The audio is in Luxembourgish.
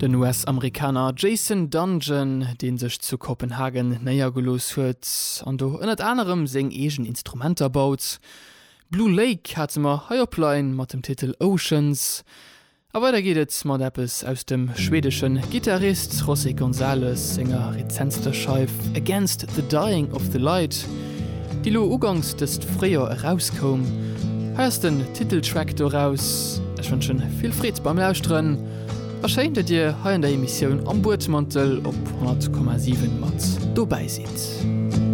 Den US-Amerikaner Jason Dungjen, dee sech zu Kopenhagen néiergelooss huet an do ënnert anerem seng eegen Instrumenter baut. Blue Lake hate mer hei op Line mat dem Titel Oceans. A weider geet et mat eppes aus dem schwedesche Gittarist José González senger rezentster Scheif Against the Dying of the Light, déi lo uganks dëst Fréijoer erauskoum. Hei ass den Titeltrack doraus. Ech wënschen vill Freed beim Lauschteren a schéin, datt dir hei an der Emissioun Am Buedmantel op 100,7 mat dobäi sidd.